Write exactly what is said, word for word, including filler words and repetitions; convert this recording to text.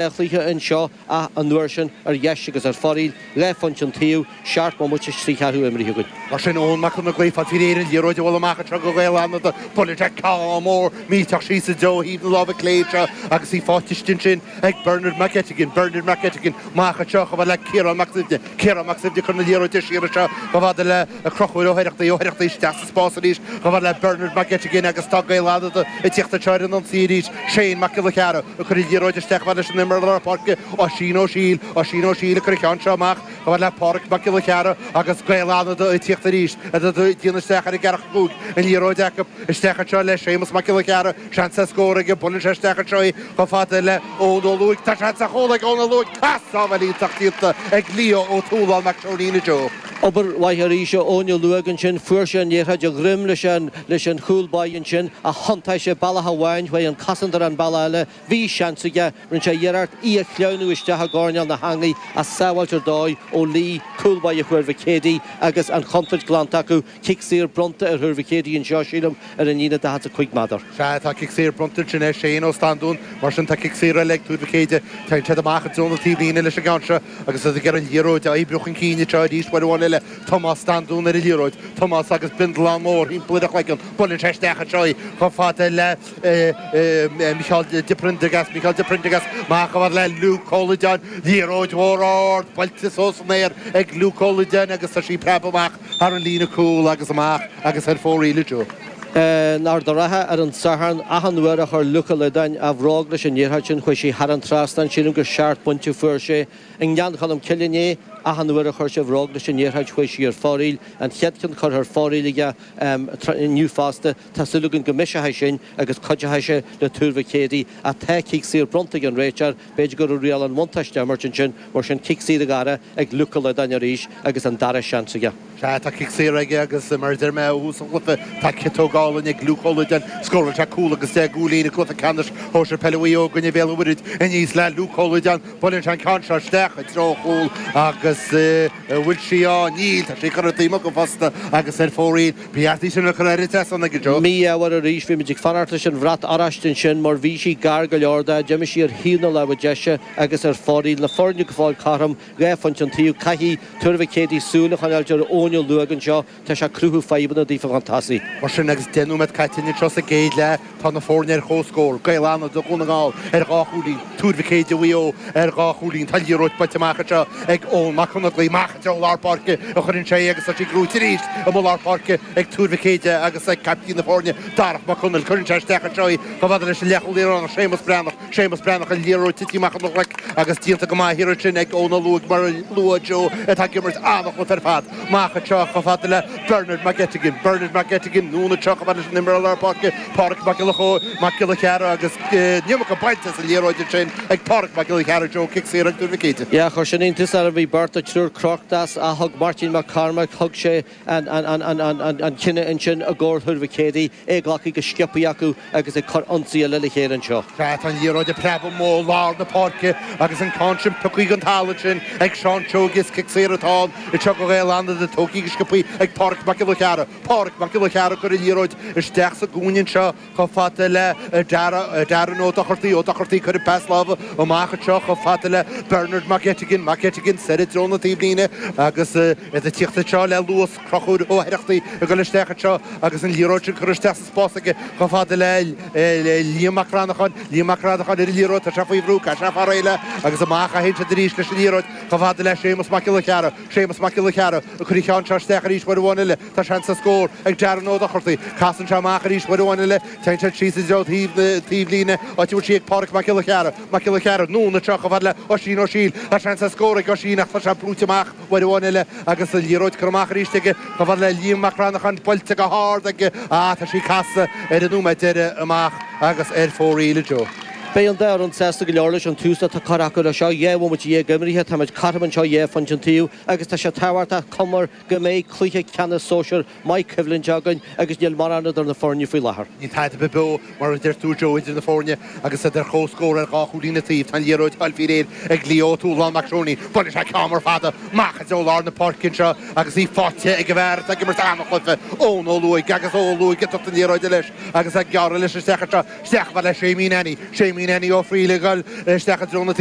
Chluiche anseo ach an uair sin ar dheis agus ar foraíl, dhá phointe an taobh, seacht mbomaite is trí cheathrú imrithe againn. Mar sin Eoin Mac Conaglaigh, fad faoi réir an liathróid a bhualadh amach anseo go Gaeil Fhánada, buaileann sé ceann mór millteach síos i dtreo thaobh na láimhe clé anseo agus í faighte istigh ansin ag Bernard McGettigan, Bernard McGettigan amach anseo chomh fada le Ciarán Mac Suibhne, Ciarán Mac Suibhne ag cur na liathróide siar anseo chomh fada le Conchúr Ó hOireachtaigh, Ó hOireachtaigh isteach sa spás arís chomh fada le Bernard McGettigan agus tá Gaeil Fhánada ag tíocht anseo ar an ionsaí arís, Shane Mac Giolla Chearra ag cur an liathróid isteach chomh fada leis an imreoir lár páirce, Oisín Ó Siail, Oisín Ó Siail ag cur an ceann seo amach chomh fada le Pádraig Mac Giolla Chearra agus Gaeil Fhánada ag tíocht arís, ag déanamh isteach ar an gceathracha cúig, an liathróid acu isteach anseo le Séamus Mac Giolla Chearra, seans ar scór aige, buaileann sé isteach anseo í chomh fada le Eoin Ó Lúing, tá seans ar chúl ag Eoin Ó Lúing, ach sábháil iontach déanta ag Leo Ó Tualáin Mac Seoinín a Joe. Obair mhaith arís ó Eoin Ó Lúing ansin, fuair sé an liathróid a dhroim leis an leis an chúl báire ansin ach thiontaigh sé bealach amháin, chuaigh an cosantóir an bealach eile, bhí seans aige, rinne sé iarracht í a shleamhnú isteach i gcoirnéal na heangaí ach sábháilt ar dóigh ó Lee, cúl báire Thuar Mhic Éadaigh agus an chontúirt glanta acu, cic saor bronnta ar Thuar Mhic Éadaigh anseo, sílim, ar an líne daichead is a cúig méadar. Sea, tá cic saor bronnta ansin ar Shane Ó Standún, mar sin tá cic saor eile ag Tuar Mhic Éadaigh. Téann siad amach i dtreo na taobhlíne leis an gceann seo agus iad ag iarraidh an liathróid a oibriú chun cinn anseo arís uair amháin eile. Tomás Standún ar an liathróid. Tomás agus bindealán mór thimpeall ar a chloigeann. Buaileann sé isteach anseo í chomh fada le Micheál de Prendergast, Micheál de Prendergast amach chomh fada le Luke Ó Loideáin. Liathróid mhór ard buailte suas san aer ag Luke Ó Loideáin agus tá sí ag preabadh amach thar an líne cúil agus amach agus ar fóraoil a Joe. In Ard an Rátha ar an Satharn, achan uair a chuir Luke Ó Loideáin a bhróg leis an liathróid sin chuaigh sí thar an trasnán. Sílim gur seacht bpointe a fuair sé. I nGleann Cholm Cille inné, achan uair a chuir sé a bhróg leis an liathróid chuaigh sí ar fóraoil. An chéad cheann curtha ar fóraoil aige inniu fosta. Tá súil againn go mbeidh sé sin agus cuideoidh sé le Tuar Mhic Éadaigh. Ach tá cic saor bronnta ag an réiteoir. B'fhéidir go raibh riail an bhuntáiste á imirt ansin, mar sin cic saor a dhara ag Luke Ó Loideáin arís agus an dara seans aige. Sea, tá cic saor aige agus mar a deir mé ó thús an chluiche, tá ciotóg álainn ag Luke Ó Loideáin. Scóráil sé cúl agus deich gcúilín i gcluiche ceannais shóisir peile Mhaigh Eo i gcoinne Bhéal an Mhuirthead aníos le Luke Ó Loideáin. Buaileann sé an ceann seo isteach i dtreo an chúil agus an bhfuil sí á? Níl, tá sí curtha taobh amuigh acu fosta agus ar fóraoil. Ba cheart í sin a chur ar an trasnán aige Joe. Mí-ádh arís, bhí muid ag fanacht leis an bhrat oráiste ansin mar bhí sí gar go leor de. D'imigh sí ar thaobh na láimhe deise agus ar fóraoil. Na foirne go fóill cothrom, dhá phointe an taobh. Caithfidh Tuar Mhic Éadaigh súil a choinneáilt ar Eoin Ó Lúing anseo, tá sé ag cruthú fadhbanna daofa chun tosaigh. Mar sin, agus deich nóiméad caite anseo sa gcéad leath, tá na foirne ar comhscór, Gaeil Fhánada Dhún na nGall ar dhá chúilín, Tuar Mhic Éadaigh Mhaigh Eo ar dhá chúilín. Tá liathróid buailte amach anseo ag Eoin Mac Conaglaigh, amach i dtreo lár páirce a chuireann sé í agus tá sí gnóite arís amuigh lár páirce ag Tuar Mhic Éadaigh agus ag caiptín na foirne, Darach Mac Conaill. Cuireann sé isteach anseo í chomh fada leis an leathchúlaí Éireannach, Séamus Breathnach. Séamus Breathnach, an liathróid tite amach óna ghlaic agus déanta go maith thiar ansin ag Eoin Ó Lúing mar a luaigh Joe atá ag imirt an-chluiche ar fad. Amach anseo chomh fada le Bernard McGettigan, Bernard McGettigan, anonn anseo chomh fada leis an imreoir lár páirce, Pádraig Mac Giolla Chóill, Mac Giolla Chearra agus an iomarca bainte as an liathróid ansin ag Pádraig Mac Giolla Chearra, Joe, cic saor ag Tuar Mhic Éadaigh. Yeah, chuir sin iontas orm, bhí beirt nó triúr crochta as ach thug Máirtín Mac Cormaic, thug sé an cinneadh ansin i gcomhair Thuar Mhic Éadaigh, é glactha go sciobtha acu agus ag cur ionsaí eile le chéile anseo. Sea, tá an liathróid ag preabadh amuigh ó lár na páirce agus an ceann sin pioctha den talamh ansin ag Seán Seoige. Is cic saor atá ann anseo do Ghaeil Fhánada, tógtha go sciobtha ag Pádraig Mac Giolla Chearra. Pádraig Mac Giolla Chearra ag cur an liathróid isteach sa gcúinne anseo chomh fada le Darren Ó Dochartaigh. Ó Dochartaigh ag cur an pas láimhe amach anseo chomh fada le Bernard McGettigan. McGettigan soir i dtreo na taobhlíne agus iad ag tíocht anseo le luas. Conchúr Ó hOireachtaigh ag dul isteach anseo agus an liathróid sin curtha isteach sa spás aige chomh fada le Liam Mac Cranacháin. Liam Mac Cranacháin ar an liathróid, tá sé faoi bhrú, caithfidh sé fáil réidh léi agus amach a théann siad arís leis an liathróid chomh fada le Séamus Mac Giolla Chearra. Séamus Mac Giolla Chearra ag cur an cheann seo isteach arís uair amháin eile. Tá seans ar scór ag Darren Ó Dochartaigh. Casann sé amach arís uair amháin eile. Téann siad síos i dtreo taobh na taobhlíne, áit a bhfuil sí ag Pádraig Mac Giolla Chearra. Mac Giolla Chearra, anonn anseo chomh fada le Oisín Ó Siail. Tá seans ar scór ag Oisín ach tá sé brúite amach. Uair amháin eile agus an liathróid curtha amach arís aige chomh fada le Liam Mac Cranacháin, buailte go hard aige ach tá sí casadh ar an nóiméad deiridh amach agus ar fóraoil a Joe. Beidh an dá fhoireann sásta go leor leis an tús atá curtha acu leis seo. Dhá bhomaite dhéag imeartha, táimid cothrom anseo dhá phointe an taobh agus tá sé tábhachtach cuma go mbeidh cluiche ceannais sóisir maith coimhlinte againn agus níl mórán idir na foirne faoi láthair. Níl tada ar bith beo mar a deir tú Joe idir na foirne agus iad ar comhscór ar dhá chúilín an taobh. Tá an liathróid fáilte faoi réir ag Leo Ó Tualáin Mac Seoinín. Buaileann sé ceann mór fada amach i dtreo lár na páirce anseo agus í faighte ag an bhfear atá ag imirt an-chluiche, Eoin Ó Lúing agus Ó Lúing ag tabhairt na liathróide leis agus ag gearradh leis isteach anseo. Isteach chomh fada le Séimí Nanny. Séimí Meenany Ó Fríle gal isteach a drona.